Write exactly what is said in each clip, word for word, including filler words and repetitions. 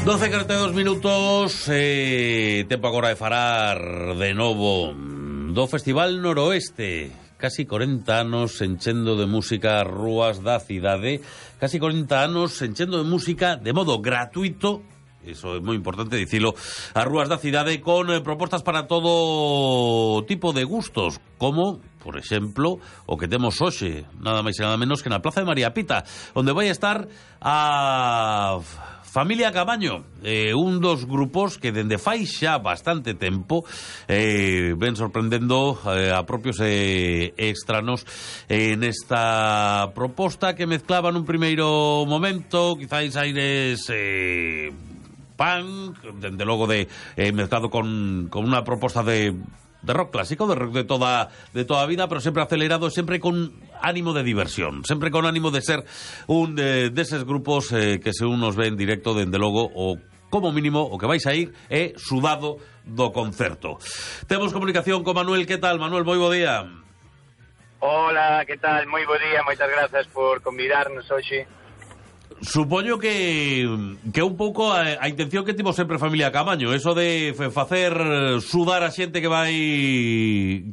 doce e corenta e dos minutos, eh, tempo agora de falar de novo do Festival Noroeste. Casi corenta anos enchendo de música as rúas da cidade, casi corenta anos enchendo de música de modo gratuito, iso é moi importante dicilo, as rúas da cidade con eh, propostas para todo tipo de gustos, como, por exemplo, o que temos hoxe, nada máis e nada menos que na Plaza de María Pita, onde vai estar a Familia Camaño, eh, un dos grupos que dende fai xa bastante tempo eh, ven sorprendendo eh, a propios eh, extranos eh, nesta proposta que mezclaba nun primeiro momento quizáis aires eh, punk, dende logo de eh, mezclado con, con unha proposta de de rock clásico, de rock de toda de toda a vida, pero sempre acelerado, sempre con ánimo de diversión, sempre con ánimo de ser un de, deses grupos eh, que se unos ve en directo, dende logo, o como mínimo o que vais a ir é sudado do concerto. Temos comunicación con Manuel. Que tal, Manuel? Moi bo día. Hola, que tal? Moi bo día, moitas grazas por convidarnos hoxe. Supoño que que un pouco a, a intención que tivo sempre Familia Camaño, eso de facer sudar a xente que vai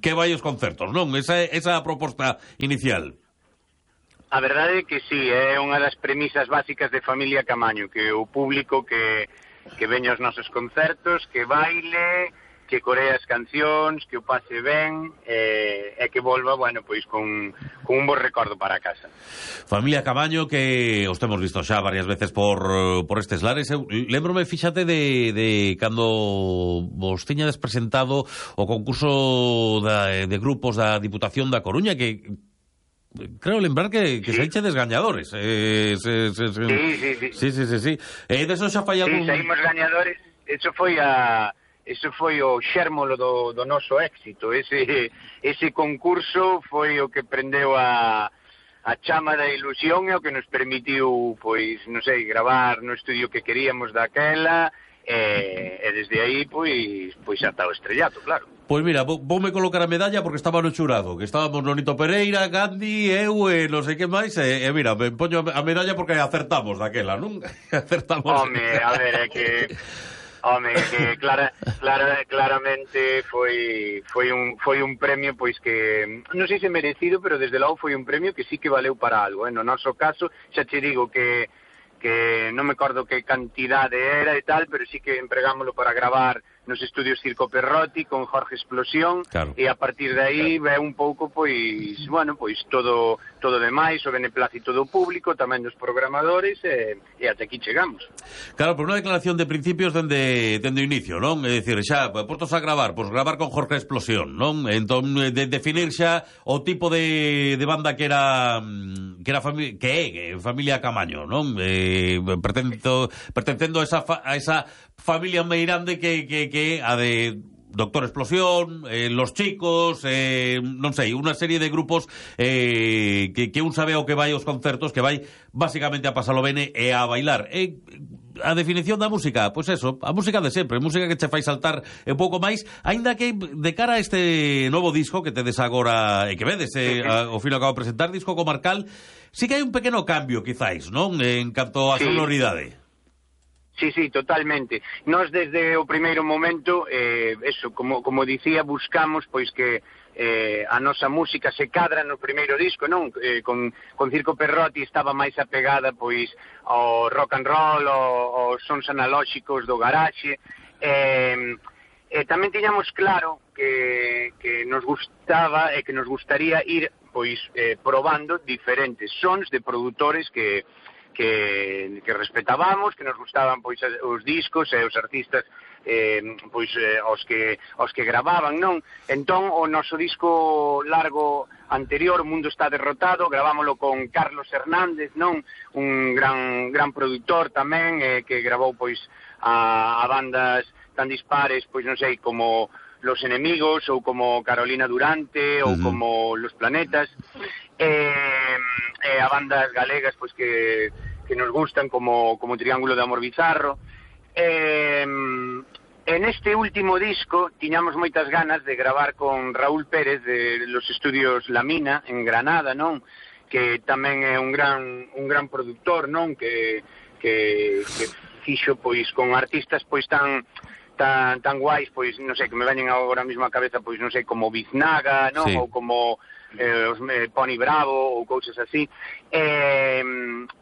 que vai aos concertos, non? Esa esa proposta inicial. A verdade é que sí, é unha das premisas básicas de Familia Camaño, que o público que que veña aos nosos concertos, que baile, que coree as cancións, que o pase ben, e, e que volva, bueno, pois con, con un bo recordo para casa. Familia Camaño, que os temos visto xa varias veces por, por estes lares. Eu lembrome, fíxate, de, de cando vos tiñades presentado o concurso da, de grupos da Diputación da Coruña, que creo lembrar que, que sí. Saíchedes gañadores. Eh, se, se, se... Sí, sí, sí. Sí, sí, sí, sí. Eh, de eso xa fai algún... Sí, saímos gañadores. Eso foi a... Eso foi o xérmolo do, do noso éxito. Ese, ese concurso foi o que prendeu a, a chama da ilusión e o que nos permitiu, pois, non sei, gravar no estudio que queríamos daquela, e, e desde aí, pois, pois ata o estrellato, claro. Pois mira, voume colocar a medalla porque estaba no xurado, que estábamos Nonito Pereira, Gandhi, eu e non sei que máis, e, e mira, me poño a medalla porque acertamos daquela, non? Acertamos. Home, a ver, é que... Home, que clara, clara, claramente foi foi un foi un premio pois que non sei se merecido, pero desde logo foi un premio que sí que valeu para algo, eh? No noso caso, xa te digo que que non me acordo que cantidade era e tal, pero sí que empregámoslo para gravar nos estudios Circo Perrotti con Jorge Explosión, claro. E a partir de aí ve un pouco, pois, bueno, pois todo todo demais, o beneplácito do público, tamén dos programadores, e, e até aquí chegamos. Claro, por unha declaración de principios dende, dende o inicio, non? É dicir, xa, portos a gravar, pois gravar con Jorge Explosión, non? Entón, de definir xa o tipo de, de banda que era que era fami que é, que Familia Camaño, non? Eh, pertencendo, pertencendo a esa, fa, a esa familia meirande que, que, que a de Doctor Explosión, eh, Los Chicos, eh, non sei, unha serie de grupos eh, que, que un sabe o que vai aos concertos, que vai basicamente a pasalo bene e a bailar. E a definición da música, pois pues eso, a música de sempre, música que che fai saltar un pouco máis, aínda que de cara a este novo disco que tedes agora e que vedes eh, a, o fino acabo de presentar, disco comarcal, sí que hai un pequeno cambio, quizáis, non? En canto a sí. Sonoridade. Sí, sí, totalmente. Nós desde o primeiro momento, eh, eso, como, como dicía, buscamos pois que eh, a nosa música se cadra no primeiro disco, non? Eh, con, con Circo Perrotti estaba máis apegada pois ao rock and roll, ao, aos sons analóxicos do garaxe. Eh, eh, tamén tiñamos claro que, que nos gustaba e que nos gustaría ir pois eh, probando diferentes sons de produtores que que, que respetábamos, que nos gustaban pois os discos e os artistas eh, pois eh, os que os que gravaban, non? Entón o noso disco largo anterior, Mundo está derrotado, gravámoslo con Carlos Hernández, non? Un gran gran produtor tamén eh, que gravou pois a, a bandas tan dispares, pois non sei, como Los Enemigos ou como Carolina Durante ou uh-huh. como Los Planetas, eh, eh, a bandas galegas pois que que nos gustan como, como Triángulo de Amor Bizarro. Eh, en este último disco tiñamos moitas ganas de gravar con Raúl Pérez de los estudios La Mina en Granada, non? Que tamén é un gran un gran produtor, non? Que que, que fixo pois con artistas pois tan tan tan guais, pois non sei, que me veñen agora mesmo a cabeza, pois non sei, como Biznaga, non? Sí. Ou como eh, os, eh, Pony Bravo ou cousas así. Eh,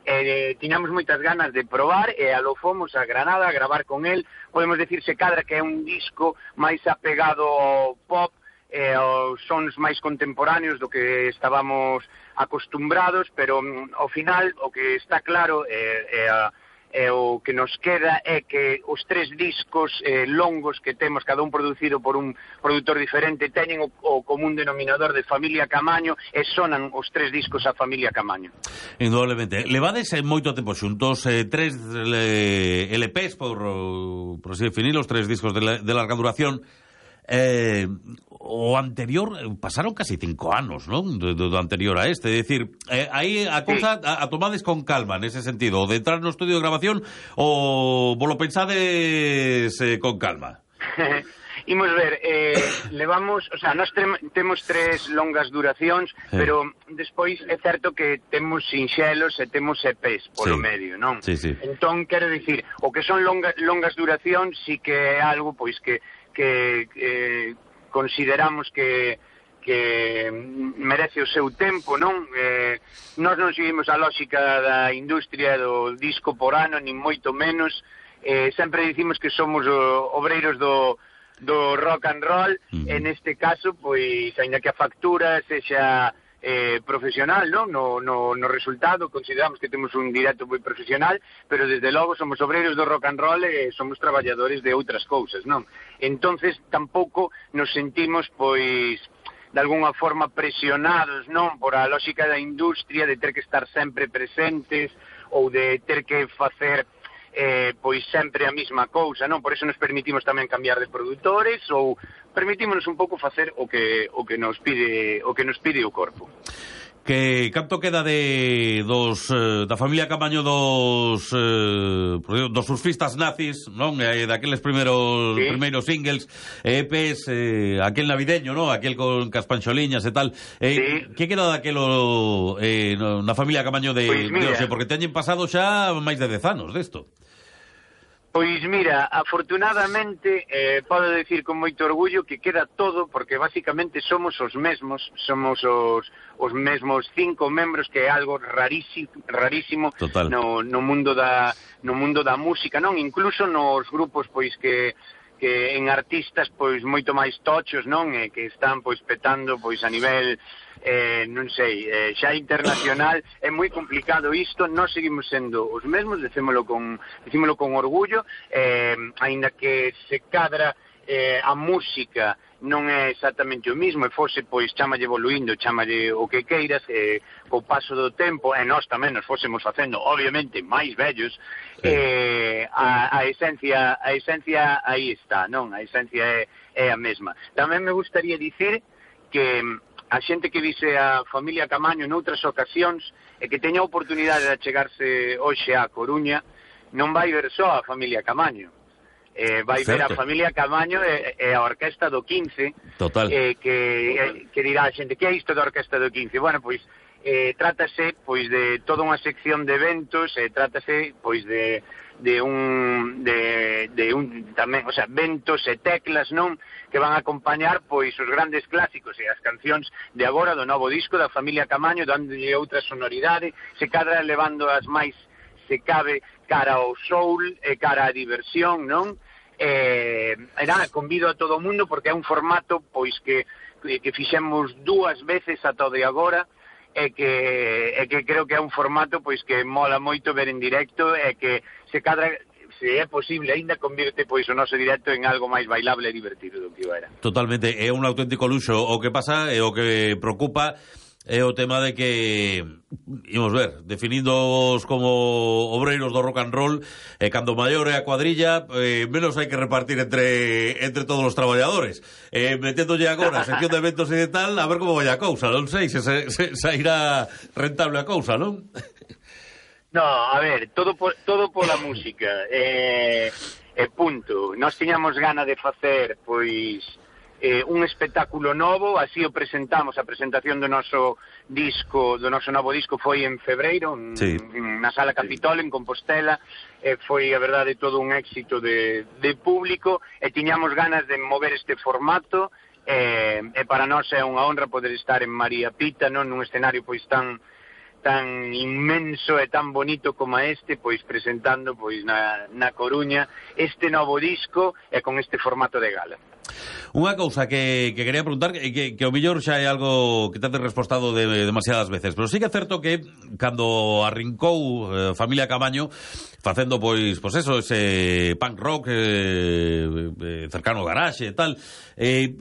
eh, tiñamos moitas ganas de probar e alo fomos a Granada a gravar con el. Podemos decirse cadra que é un disco máis apegado ao pop, eh, aos sons máis contemporáneos do que estábamos acostumbrados, pero mm, ao final o que está claro é eh, eh, e o que nos queda é que os tres discos eh, longos que temos, cada un producido por un produtor diferente, teñen o, o común denominador de Familia Camaño e sonan os tres discos a Familia Camaño. Indudablemente. Levades eh, moito tempo xuntos, eh, tres eh, L Pes, por, por así definir, os tres discos de, la, de larga duración. Eh, o anterior, pasaron casi cinco anos, non? Do, do anterior a este, é dicir, eh, aí a cousa sí. a, a tomades con calma nese sentido, de entrar no estudio de grabación ou vos lo pensades eh, con calma. Imos ver, eh, levamos, o sea, nós temos tres longas duracións, sí. Pero despois é certo que temos sinxelos e temos E Pes polo sí. Medio, non? Sí, sí. Entón, quero dicir, o que son longa, longas duracións sí que é algo, pois, que que eh, consideramos que que merece o seu tempo, non? Eh, nós non seguimos a lógica da industria do disco por ano, nin moito menos. Eh, sempre dicimos que somos o, obreiros do, do rock and roll. Uh-huh. En este caso, pois, aínda que a factura sexa eh, profesional, non? No, no, no resultado consideramos que temos un directo moi profesional, pero desde logo somos obreiros do rock and roll e somos traballadores de outras cousas, non? Entonces tampouco nos sentimos, pois, de alguna forma presionados, non? Por a lógica da industria de ter que estar sempre presentes ou de ter que facer eh, pois sempre a mesma cousa, non? Por eso nos permitimos tamén cambiar de produtores ou permitímonos un pouco facer o que o que nos pide o que nos pide o corpo. Que canto queda de dos eh, da familia Camaño dos eh, dos surfistas nazis, non? Eh, daqueles primeiros sí. primeiros singles, E Pes, eh, aquel navideño, non? Aquel con caspancholiñas e tal. Eh, sí. Que queda daquelo eh, na familia Camaño de, pues de Oxe? Porque teñen pasado xa máis de dez anos desto. Pois mira, afortunadamente eh, podo decir con moito orgullo que queda todo, porque basicamente somos os mesmos, somos os, os mesmos cinco membros, que é algo rarísimo, rarísimo no, no mundo da no mundo da música, non? Incluso nos grupos pois que que en artistas pois moito máis tochos, non? E que están pois petando pois a nivel eh, non sei, eh, xa internacional. É moi complicado isto. Nós seguimos sendo os mesmos, decímolo con, decímolo con orgullo, eh, aínda que se cadra eh, a música non é exactamente o mismo, e fose, pois, chamalle evoluindo, chamalle o que queiras, eh, co paso do tempo, e nós tamén nos fósemos facendo, obviamente, máis vellos, sí. eh, a, a esencia a esencia aí está, non? A esencia é, é a mesma. Tamén me gustaría dicir que a xente que vise a familia Camaño noutras ocasións e que teña a oportunidade de achegarse hoxe á Coruña, non vai ver só a familia Camaño. Eh, vai certo. Ver a familia Camaño e, e a orquesta do quince. Total. Eh, que, eh, que dirá a xente, que é isto da orquesta do quince? Bueno, pois, eh, trátase pois de toda unha sección de eventos, eh, trátase pois de, de un de, de un tamén, o sea, ventos e teclas, non? Que van a acompañar pois os grandes clásicos e as cancións de agora do novo disco da familia Camaño, dándolle outra sonoridade, se cadra levando as máis, se cabe, cara ao soul e cara á diversión, non? Eh, era, convido a todo o mundo porque é un formato pois que, que fixemos dúas veces ata o de agora, e que, e que creo que é un formato pois que mola moito ver en directo, e que se cadra, se é posible aínda, convirte pois o noso directo en algo máis bailable e divertido do que o era. Totalmente, é un auténtico luxo. O que pasa e o que preocupa é o tema de que, imos ver, definíndoos como obreiros do rock and roll, e cando maior é a cuadrilla, eh, menos hai que repartir entre entre todos os traballadores. Eh, meténdolle agora a sección de eventos e de tal, a ver como vai a cousa, non sei se, se, se, se irá rentable a cousa, non? No, a ver, todo por, todo pola música, eh, e punto. Nós tiñamos gana de facer, pois, eh, un espectáculo novo, así o presentamos, a presentación do noso disco, do noso novo disco foi en febreiro, sí. en, na Sala Capitol, en Compostela, e foi, a verdade, todo un éxito de, de público, e tiñamos ganas de mover este formato, e, e para nós é unha honra poder estar en María Pita, non, nun escenario pois tan tan inmenso e tan bonito como este, pois presentando pois na, na Coruña este novo disco e con este formato de gala. Unha cousa que, que quería preguntar, que, que, que o millor xa é algo que te has respostado de, demasiadas veces, pero sí que é certo que cando arrincou eh, Familia Camaño facendo, pois, pois eso, ese punk rock eh, eh, cercano ao garaxe e tal, eh,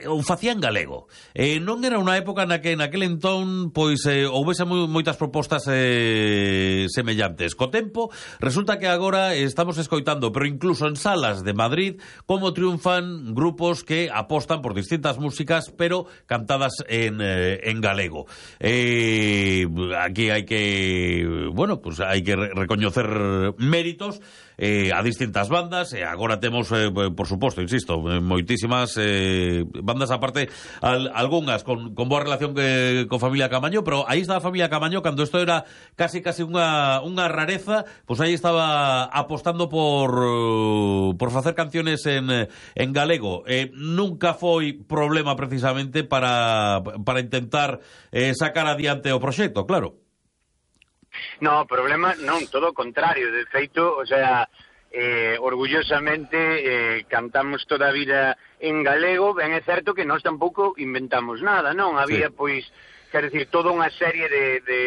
o facía en galego. Eh, non era unha época na que naquele entón pois eh, houvese moi, moitas propostas eh, semellantes. Co tempo, resulta que agora estamos escoitando, pero incluso en salas de Madrid, como triunfan grupos que apostan por distintas músicas, pero cantadas en, eh, en galego. Eh, aquí hai que, bueno, pues hai que re- recoñecer méritos eh, a distintas bandas, e agora temos, eh, por suposto, insisto, moitísimas eh, bandas aparte, al, algunhas con, con boa relación que, con Familia Camaño, pero aí está a Familia Camaño cando isto era casi casi unha, unha rareza, pois pues aí estaba apostando por por facer canciones en, en galego. Eh, nunca foi problema precisamente para, para intentar eh, sacar adiante o proxecto, claro. No, problema non, todo o contrario, de feito, o sea, eh, orgullosamente eh, cantamos toda a vida en galego, ben é certo que nós tampouco inventamos nada, non? Había, sí. pois, quer decir, toda unha serie de, de,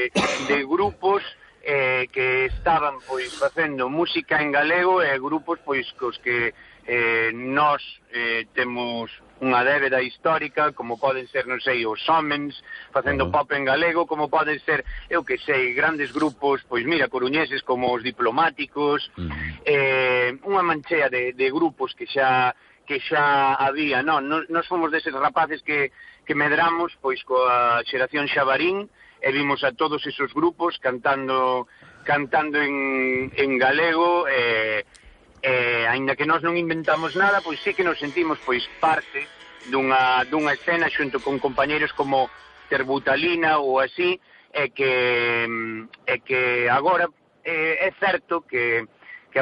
de grupos eh, que estaban, pois, facendo música en galego, e grupos, pois, cos que eh, nós eh, temos unha débeda histórica, como poden ser, non sei, os Homens, facendo uh-huh. pop en galego, como poden ser, eu que sei, grandes grupos, pois mira, coruñeses como os Diplomáticos, uh-huh. eh, unha manchea de, de grupos que xa que xa había, non, nos, nos fomos deses rapaces que, que medramos, pois, coa xeración Xabarín, e vimos a todos esos grupos cantando cantando en, en galego, e eh, Eh, aínda que nós non inventamos nada, pois sí que nos sentimos pois parte dunha, dunha escena xunto con compañeros como Terbutalina ou así, e que, e que agora eh, é certo que